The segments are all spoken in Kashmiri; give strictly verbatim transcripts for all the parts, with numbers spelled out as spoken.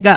گا۔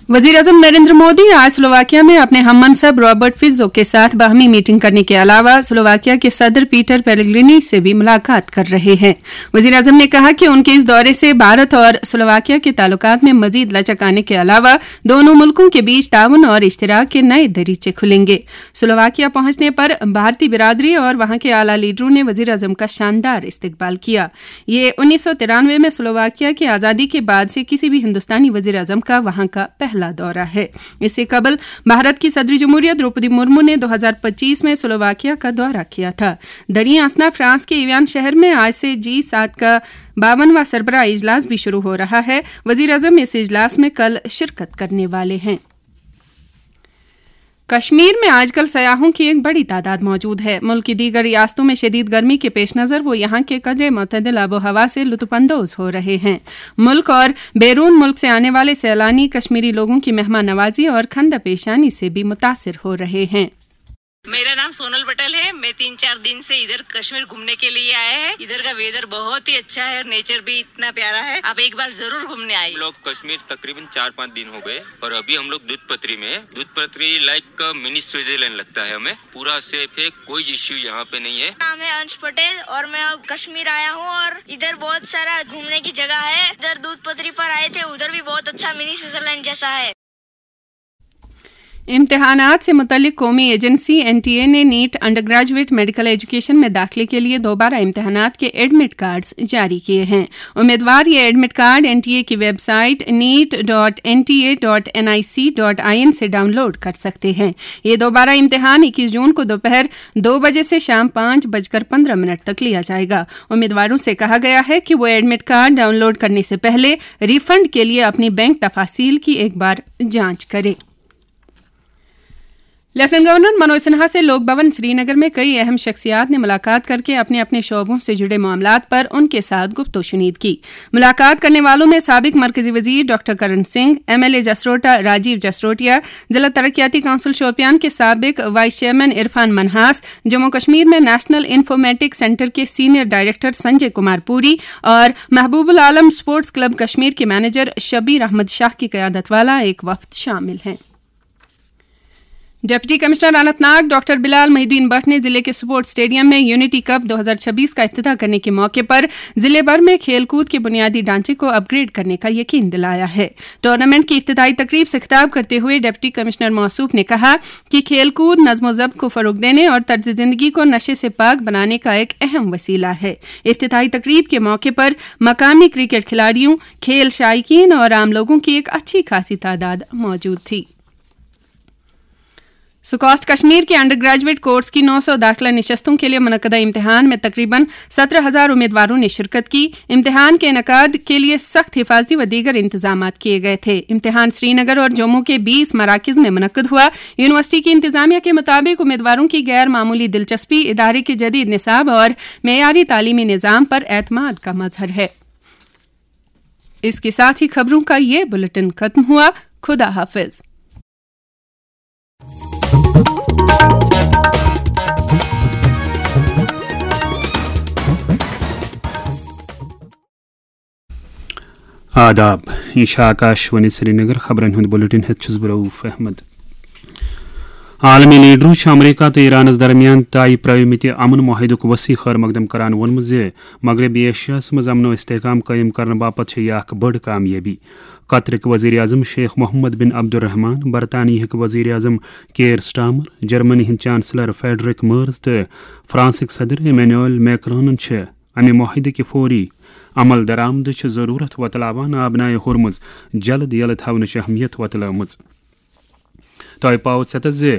وزیر اعظم نریندر مودی آج سلوواکیا میں اپنے ہم منصب رابرٹ فیزو کے ساتھ باہمی میٹنگ کرنے کے علاوہ سلوواکیا کے صدر پیٹر پیلگرینی سے بھی ملاقات کر رہے ہیں۔ وزیر اعظم نے کہا کہ ان کے اس دورے سے بھارت اور سلوواکیا کے تعلقات میں مزید لچک آنے کے علاوہ دونوں ملکوں کے بیچ تعاون اور اشتراک کے نئے دریچے کھلیں گے۔ سلوواکیا پہنچنے پر بھارتی برادری اور وہاں کے اعلیٰ لیڈروں نے وزیر اعظم کا شاندار استقبال کیا۔ یہ انیس سو ترانوے میں سلوواکیا کی آزادی کے بعد سے کسی بھی ہندوستانی وزیر اعظم کا وہاں کا پہلا دورہ ہے۔ اس سے قبل بھارت کی صدر جمہوریہ دروپدی مرمو نے دو ہزار پچیس میں سلوواکیا کا دورہ کیا تھا۔ دریں اثنا فرانس کے ایویان شہر میں آج سے جی سات کا باونواں سربراہ اجلاس بھی شروع ہو رہا ہے۔ وزیر اعظم اس اجلاس میں کل شرکت کرنے والے ہیں۔ کشمیر میں آج کل سیاحوں کی ایک بڑی تعداد موجود ہے۔ ملک کی دیگر ریاستوں میں شدید گرمی کے پیش نظر وہ یہاں کے قدرے معتدل آب و ہوا سے لطف اندوز ہو رہے ہیں۔ ملک اور بیرون ملک سے آنے والے سیلانی کشمیری لوگوں کی مہمان نوازی اور خندہ پیشانی سے بھی متاثر ہو رہے ہیں۔ میرا نام سونل پٹیل ہے۔ میں تین چار دن سے ادھر کشمیر گھومنے کے لیے آیا ہے۔ ادھر کا ویدر بہت ہی اچھا ہے اور نیچر بھی اتنا پیارا ہے۔ آپ ایک بار ضرور گھومنے آئیے۔ ہم لوگ کشمیر تقریباً چار پانچ دن ہو گئے اور ابھی ہم لوگ دودھ پتری میں ہیں۔ دودھ پتری لائک منی سوئٹزرلینڈ لگتا ہے ہمیں۔ پورا سیف ہے، کوئی ایشو یہاں پہ نہیں ہے۔ نام ہے अंश पटेल और मैं अब कश्मीर आया हूँ और इधर बहुत सारा घूमने की जगह है। इधर दूध पतरी पर आए थे, उधर भी बहुत अच्छा मिनी स्विट्जरलैंड जैसा है। امتحانات سے متعلق قومی ایجنسی این ٹی اے نے NEET undergraduate medical education میں داخلے کے لیے دوبارہ امتحانات کے ایڈمٹ کارڈز جاری کیے ہیں۔ امیدوار یہ admit card N T A کی website NEET dot N T A dot N I C dot I N سے ڈاؤن لوڈ کر سکتے ہیں۔ یہ دوبارہ امتحان اکیس جون کو دوپہر دو بجے سے شام پانچ بج کر پندرہ منٹ تک لیا جائے گا۔ امیدواروں سے کہا گیا ہے کہ وہ ایڈمٹ کارڈ ڈاؤن لوڈ کرنے سے پہلے ریفنڈ کے لیے اپنی بینک تفاصیل کی ایک بار جانچ کریں۔ لیفٹیننٹ گورنر منوج سنہا سے لوک بھون سری نگر میں کئی اہم شخصیات نے ملاقات کر کے اپنے اپنے شعبوں سے جڑے معاملات پر ان کے ساتھ گفت و شنید کی۔ ملاقات کرنے والوں میں سابق مرکزی وزیر doctor Karan Singh, M L A Jasrota Rajeev Jasrotia, ضلع ترقیاتی کونسل شوپیان کے سابق وائس چیئرمین عرفان منہاس، جموں کشمیر میں نیشنل انفارمیٹک سینٹر کے سینئر ڈائریکٹر سنجے کمار پوری اور Mehboob-ul-Alam sports club Kashmir کے مینیجر شبیر احمد شاہ کی قیادت والا ایک وفد شامل ہیں۔ Deputy commissioner Anantnag doctor Bilal Mohi-ud-Din Bhat نے ضلع کے سپورٹس اسٹیڈیم میں یونٹی کپ دو ہزار چھبیس کا افتتاح کرنے کے موقع پر ضلع بھر میں کھیل کود کے بنیادی ڈھانچے کو اپ گریڈ کرنے کا یقین دلایا ہے۔ ٹورنامنٹ کی افتتاحی تقریب سے خطاب کرتے ہوئے ڈپٹی کمشنر موصوف نے کہا کہ کھیل کود نظم و ضبط کو فروغ دینے اور طرز زندگی کو نشے سے پاک بنانے کا ایک اہم وسیلہ ہے۔ افتتاحی تقریب کے موقع پر مقامی کرکٹ کھلاڑیوں، کھیل شائقین اور عام لوگوں کی ایک اچھی خاصی تعداد موجود تھی۔ سکاسٹ کشمیر کے انڈر گریجویٹ کورس کی نو سو داخلہ نشستوں کے لیے منعقدہ امتحان میں تقریباً سترہ ہزار امیدواروں نے شرکت کی۔ امتحان کے انعقاد کے لیے سخت حفاظتی و دیگر انتظامات کیے گئے تھے۔ امتحان سری نگر اور جموں کے بیس مراکز میں منعقد ہوا۔ یونیورسٹی کی انتظامیہ کے مطابق امیدواروں کی غیر معمولی دلچسپی ادارے کے جدید نصاب اور معیاری تعلیمی نظام پر اعتماد کا مظہر ہے۔ اس کے ساتھ ہی خبروں کا یہ بلٹن ختم ہوا۔ خدا حافظ۔ آداب، یہ چھا آکاشوانی سرینگر۔ خبرن ہند بلیٹن ہیتھ چھس بہ رؤف احمد۔ عالمی لیڈرو چھ امریکہ تہٕ ایرانس درمیان طے پرٲومٕتہِ امن معاہدُک وسیع خیر مقدم کران ووٚنمُت زِ مغربی ایشیاہس منٛز امن و استحکام قٲیِم کرنہٕ باپتھ چھےٚ یہِ اکھ بٔڑ کامیٲبی۔ قطرٕکۍ وزیر اعظم شیخ محمد بن عبدالرحمان، برطانیہٕکۍ وزیر اعظم کیئر سٹارمر، جرمنی ہٕنٛدۍ چانسلر فریڈرک مرز تہٕ فرانسٕکۍ صدر ایمینوئل میکرونن چھِ امہِ معاہدٕکہِ فوری عمل درآمدٕچ ضروٗرت وۄتلاوان آبنائے ہرمز جلد یلہٕ تھاونٕچ اہمیت وۄتلٲومٕژ۔ تۄہہِ پاوٕ ژٮ۪تس زِ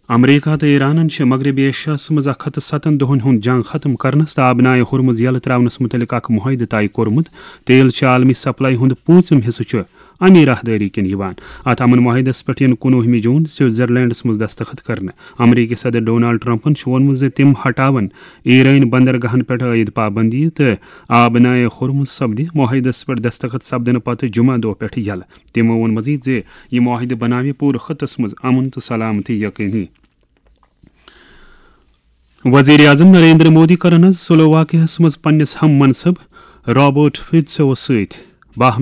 امریکہ تہٕ ایرانن چھِ مغربی ایشیاہس منٛز اکھ ہتھ تہٕ ستن دۄہن ہُنٛد جنگ ختم کرنس تہٕ آبنائے ہرمز یلہٕ ترٛاونس مُتعلق اکھ معاہدٕ طے کوٚرمُت۔ تیل چھِ عالمی سپلائی ہُنٛد پوٗنٛژِم حصہٕ چھُ اَمی راہدٲری کِنۍ یِوان۔ اَتھ امن معاہدس پٮ۪ٹھ یِن کُنوُہمہِ جوٗن سوئٹزرلینڈس منٛز دستخط کرنہٕ۔ امریکی صدر ڈونالڈ ٹرمپن چھُ ووٚنمُت زِ تِم ہٹاون ایرٲنۍ بندرگاہن پٮ۪ٹھ عائد پابندی تہٕ آبنائے ہرمز سپدِ معاہدس پٮ۪ٹھ دستخط سپدنہٕ پتہٕ جمعہ دۄہ پٮ۪ٹھ یلہٕ۔ تِمو ووٚن مزید زِ یہِ معاہدٕ بناوِ پوٗرٕ خطس منٛز امن تہٕ سلامتی یقینی۔ وزیر اعظم نریندر مودی کَرَن آز سلوواکیاہَس منٛز پننِس ہم منصب رابرٹ فیتسوَس سۭتۍ باہم